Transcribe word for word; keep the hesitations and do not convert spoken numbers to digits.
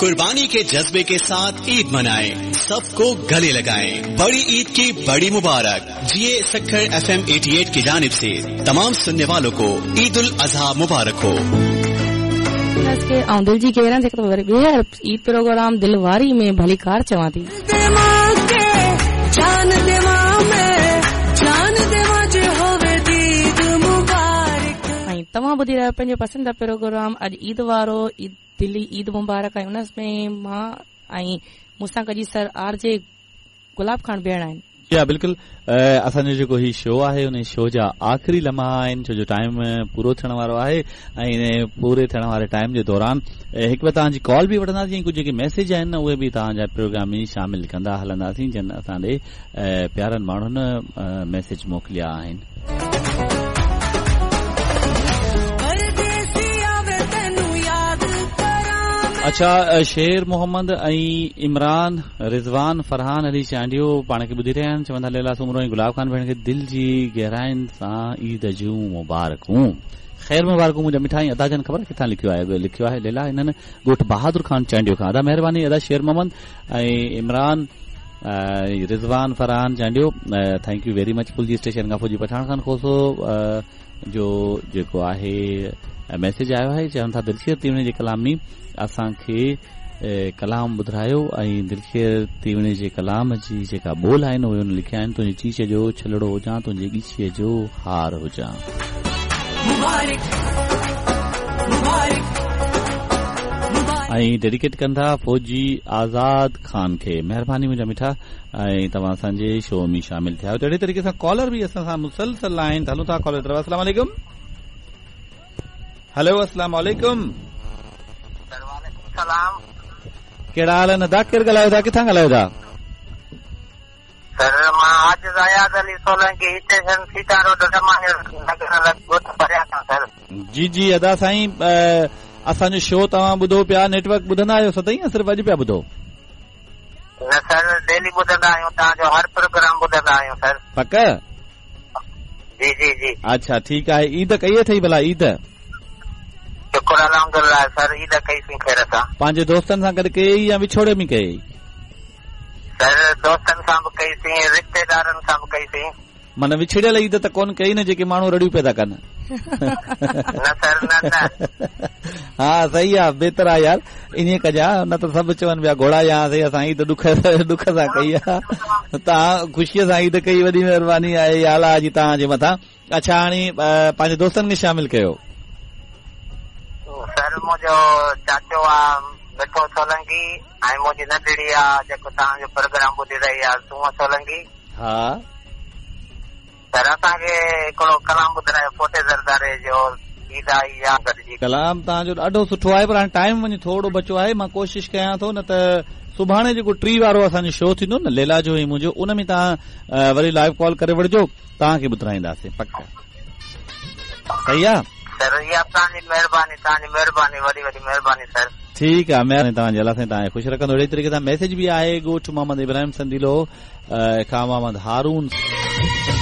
कुर्बानी के जज्बे के साथ ईद मनाएं, सबको गले लगाएं। बड़ी ईद की बड़ी मुबारक। जिए सक्खर एफ एम अठासी की जानिब से तमाम सुनने वालों को ईद उल अजहा मुबारक हो। ऐं दिल जी ख़ैर जेको वरी ॿीहर ईद प्रोग्राम दिलवारी में भलीकार चवां थी। ऐं तव्हां ॿुधी रहिया पंहिंजो पसंदीदा प्रोग्राम अॼु ईद वारो ईद दिली ईद मुबारक। ऐं उन में मां ऐं मूंसां गॾु सर आर जे गुलाब खान भेण आहिनि। जी हा बिल्कुलु, असांजो जेको ही शो आहे उन शो जा आख़िरी लम्हा आहिनि, छो जो टाइम पूरो थियण वारो आहे ऐं इन पूरे थियण वारे टाइम जे दौरान हिकु ॿ तव्हांजी कॉल बि वठंदासीं ऐं कुझु जेके मैसेज आहिनि उहे बि तव्हांजा प्रोग्राम में शामिल कंदा हलंदासीं, जिन असां ॾे प्यारनि माण्हुनि मैसेज मोकिलिया आहिनि। अच्छा, शेर मोहम्मद ऐं इमरान रिज़वान फरहान अली चांडियो पाण खे ॿुधी रहिया आहिनि। चवनि था लैला सूमरो ऐं गुलाब खान भेण खे दिलि जी गहराइनि सां ईद जूं मुबारकूं। ख़ैर मुबारकूं मुंहिंजा मिठा। ऐं अदा जन ख़बर किथां लिखियो आहे? लिखियो आहे लैला हिननि ॻोठ बहादुर खान चांडियो खां। अदा महिरबानी अदा शेर मोहम्मद ऐं Imran Rizwan Farhan Chandio, thank you very much. Phulji station खां फौजी पठाण खान खोसो जो जेको आहे मैसेज आयो आहे, चवनि था दिलशेर तीवणे जे कलाम में असांखे कलाम ॿुधायो ऐं दिलशेर तीवणे जे कलाम जी जेका ॿोल आहिनि उहे हुन लिखिया आहिनि। तुंहिंजी चीच जो छलड़ो हुजां, तुंहिंजी ॻिचीअ जो हार हुजां। ऐं डेडिकेट कनि था फौजी आज़ाद खान खे। महिरबानी मुंहिंजा मिठा ऐं तव्हां असांजे शो में शामिल थिया आहियो। त अहिड़े तरीक़े सां कॉलर बि असां सां मुसलसल आहिनि। हलूं था कॉलर तरफ़। अस्सलाम वालेकुम। हेलो, अस्सलाम वालेकुम। सलाम। कहिड़ा हाल आहिनि अदा? केरु ॻाल्हायो था, किथां ॻाल्हायो था? सर मां आजिज़ अयाज़ अली सोलंकी, स्टेशन सीता रोड नगर ॻोठ परिया खां। सर जी जी अदा साईं, असांजो शो तव्हां ॿुधो पिया, नेटवर्क ॿुधंदा आहियो सदाई या सिर्फ़ु अॼु पिया ॿुधो? न सर, डेली ॿुधंदा आहियूं, तव्हांजो हर प्रोग्राम ॿुधंदा आहियूं सर। पक? जी जी जी। अच्छा ठीकु आहे। ईद कई अथई भला? ईद शुक्र अल्हम्दुलिल्लाह सर, ईद कईसीं ख़ैर सां। पंहिंजे दोस्तनि सां गॾु कई या विछोड़े में कई? सर दोस्तनि सां बि कईसीं, रिश्तेदारनि सां बि कईसीं। माना विछड़ियल ईद त कोन कई न, जेके माण्हू रड़ियूं पिया था कनि? न सर न न। हा सही आहे, बहितर आहे यार, ईअं कजांइ न त सभु चवनि पिया घोड़ा या सही असां ईद ॾुख ॾुख सां कई आहे, तव्हां ख़ुशीअ सां ईद कई, वॾी महिरबानी आहे अलाह जी तव्हांजे मथां। अच्छा हाणे पंहिंजे दोस्तनि खे शामिल कयो। सर मुंहिंजो चाचो आहे मिठो सोलंकी ऐं मुंहिंजी नंढड़ी आहे जेको तव्हांजो प्रोग्राम ॿुधी रही आहे सूअ सोलंकी। हा सर असांखे हिकिड़ो कलाम ॿुधायो फोटे ज़रदारे जो ईद आई आहे गॾिजी। कलाम तव्हांजो ॾाढो सुठो आहे, पर हाणे टाइम वञी थोरो बचियो आहे, मां कोशिशि कयां थो न त सुभाणे जेको टी वारो असांजो शो थींदो न लैला जो ऐं मुंहिंजो, उन में तव्हां वरी लाइव कॉल करे वठिजो, तव्हांखे ॿुधाईंदासीं पक। सही आहे सर? इहा तव्हांजी महिरबानी, तव्हांजी महिरबानी, वॾी वॾी महिरबानी सर। ठीकु आहे, महिरबानी तव्हांजी, अलाह साईं तव्हांखे ख़ुशि रखंदो। अहिड़े तरीक़े सां मैसेज बि आहे ॻोठ मोहम्मद इब्राहिम संदीलो खां मोहम्मद हारून।